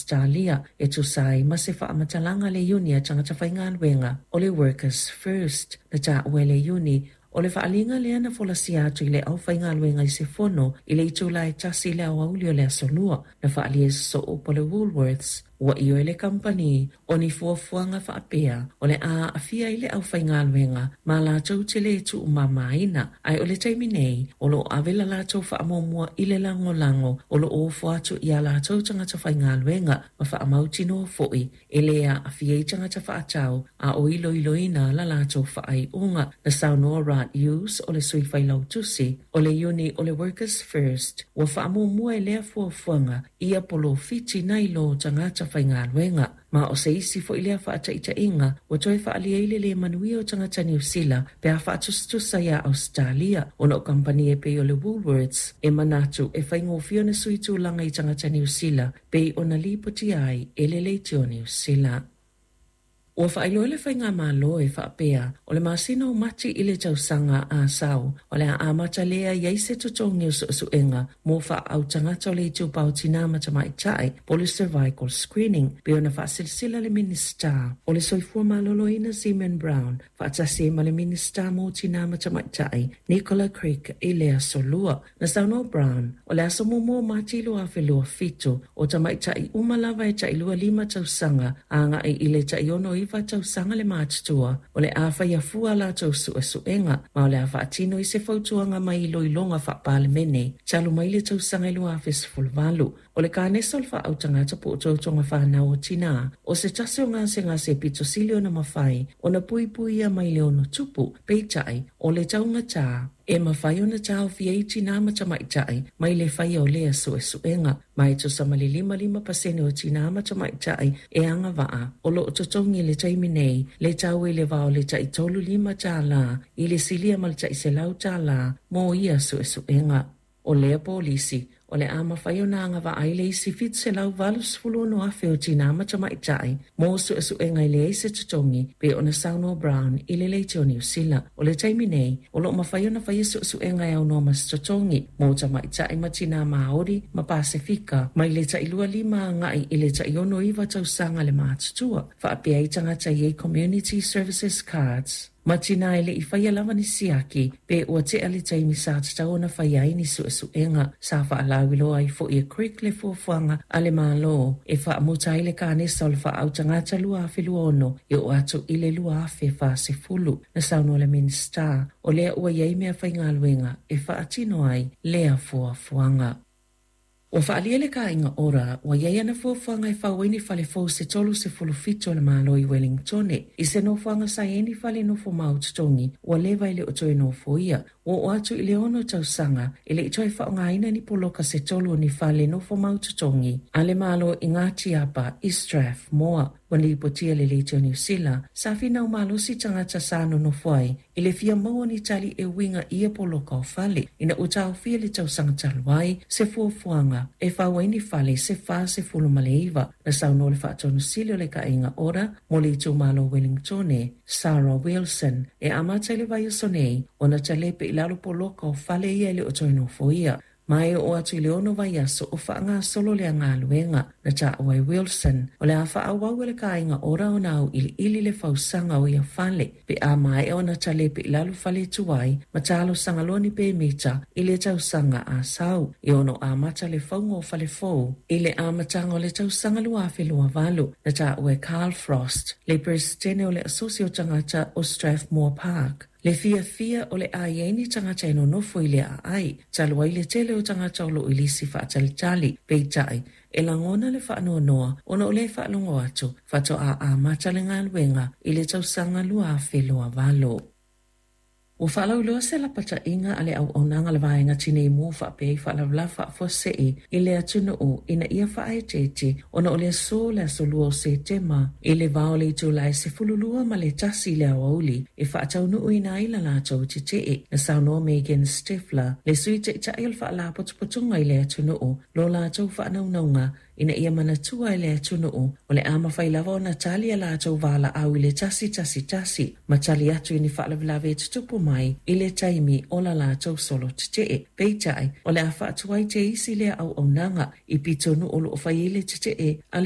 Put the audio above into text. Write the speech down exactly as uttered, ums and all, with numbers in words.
Ausetalia e tusa ai ma se faamatalaga a le Iuni a Tagata Faigaluega o le Workers First. Na taua e le Iuni o le faaaliga lea na folasia atu i le aufaigaluega i se fono i le itula e tasi i le aoauli o le Aso Lua. Na faaalia e sosoo po o le Woolworths ua ioe le kamupani o ni fuafuaga faapea o le a aafia ai le aufaigaluega ma latou te le tuumamaina, ae o le taimi nei o loo ave la latou faamuamua i le lagolago o loo ofo atu ia latou tagata faigaluega ma faamautinoa foi e le aafia ai tagata faatau a o iloiloina la latou faaiuga. Na saunoa Rod Hughes o le sui failautusi o le Iuni o le Workers First ua faamuamua e lea fuafuaga ia polofiti nai lo tagata faigaluega, ma o se isi foi lea faataitaiga ua toe faaalia ai le le manuia o tagata Niu Sila pe a faatusatusa iā Ausetalia, ona o kamupani e pei o le Woolworths e manatu e faigofie ona sui tulaga i tagata Niu Sila pei ona lipotia ai e le Leitio Niu Sila. Ua faailoa le faigamalo e faapea o le masina o Mati i le tausaga a sau o le a amata lea i ai se totogi o suesuega mo faaau tagata o le itupa o tinā ma tamaitai po o le cervical screening, pei ona faasilasila le Minisita o le Soifua Maloloina Simon Brown faatasi ai ma le Minisita mo Tinā ma Tamaitai Nicola Craig i le Aso Lua. Na saunoa Brown o le aso muamua o Mati lua afe lua fitu o tamaitai uma lava e tailua lima tausaga agai i le taiono iva tausaga le matutua o le a faia fua latou suesuega ma o le a faatino i se fautuaga mai iloiloga faapalemene talu mai le tausaga i lua afe sefulu valu. O le kanesa o le faautagata po o tautoga fanau o tinā o se tasi o gasegase pito sili ona mafai ona puipuia mai le ono tupu, peitai o le taugatā e mafai ona taofia ai tinā ma tamaitai mai le faia o lea suesuega, ma e tusa ma le lima lima pasene o tinā ma tamaitai e agavaa o loo totogi i le taimi nei le tau i le va o le taitolu lima tālā i le silia ma le taiselau tālā mo ia suesuega. O lea polisi o le a mafai ona agavaa ai le isi fitu selau valu sefulu ono afe o tinā ma tamaitai mo suesuega e leai se totogi pe ona saunoa Brown i le Leitio Niu Sila. O le taimi nei o loo mafai ona faia suesuega e aunoa ma se totogi mo tamaitai ma tinā Māori ma Pasefika mai le tailua lima agai i le taiono iva tausaga le matutua, faapea ai tagata i ai Community Services Cards ma tinā e le i faia lava ni siaki pe ua tea le taimi sa tatau ona faia ai ni suesuega. Sa faalauiloa ai foi e Craig le fuafuaga a le Malo e faamuta ai le kanesa o le faautagata lua afe lua ono e oo atu i le lua afe fasefulu. Na saunoa le Minisita o lea ua iai mea faigaluega e faatino ai lea fuafuaga. Ua faalia le Kāinga Ora ua iai ana fuafuaga e fau ai ni fale fou se tolu sefulu fitu o le Malo i Wellingtone i se nofoaga sa iai ni fale nofo mau totogi ua leva i le o toe nofoia. Ua oo atu i le ono tausaga e le i toe faaaogaina ni poloka se tolu o ni fale nofo mau totogi a le Malo i Ngā Tiapa i Strathmore. Ua lipotia le Leitio Niu Sila sa finau malosi tagata sa nonofo ai i le fia maua ni tali e uiga i ia poloka o fale ina ua taofia le tausaga talu ai se fuafuaga e fau ai ni fale se fa sefulu ma le iva. Na saunoa le faatonusili o le Kāinga Ora mo le itumalo Wellingtone Sarah Wilson e amata i le vaiaso nei ona talepe i lalo poloka o fale ia e le o toe nofoia. Ma e oo atu i le ono vaiaso o faagasolo lea galuega. Na taua e Wilson o le a faaauau e le Kāinga Ora ona auiliili le fausaga o ia fale pe a maea ona talepe i lalo fale tuai ma talosaga loa ni pemita i le tausaga a sau e ono amata le fauga o fale fou i le amataga o le tausaga lua afe lua valu. Na taua e Carl Frost le peresetene o le Asosi o Tagata o Strathmore Park le fiafia o le a iai ni tagata e nonofo i le aai talu ai le tele o tagata o loo i lisi faatalitali, peitai e lagona le faanoanoa ona o le faalogo atu faatoa amata le galuega i le tausaga lua afe lua valo. Ua faalauiloa se lapataiga a le auaunaga le vaega tinei mu faapea i faalavelave faafuasei i le atunuu ina ia faaeteete ona o le aso le aso lua o Setema i le va o le itula e sefulu lua ma le tasi i le aoauli e faataunuuina ai la latou tetee. Na saunoa Megan Stifler le sui taitai o le faalapotopotoga i le atunuu lo latou faanaunauga ina ia manatua e le atunuu o le a mafai lava ona tali a latou valaau i le tasi tasi tasi ma tali atu i ni faalavelave e tutupu mai i le taimi o la latou solo tetee. Peitai o le a faatuai te isi lea auaunaga i pitonuu o loo fai ai le tetee a le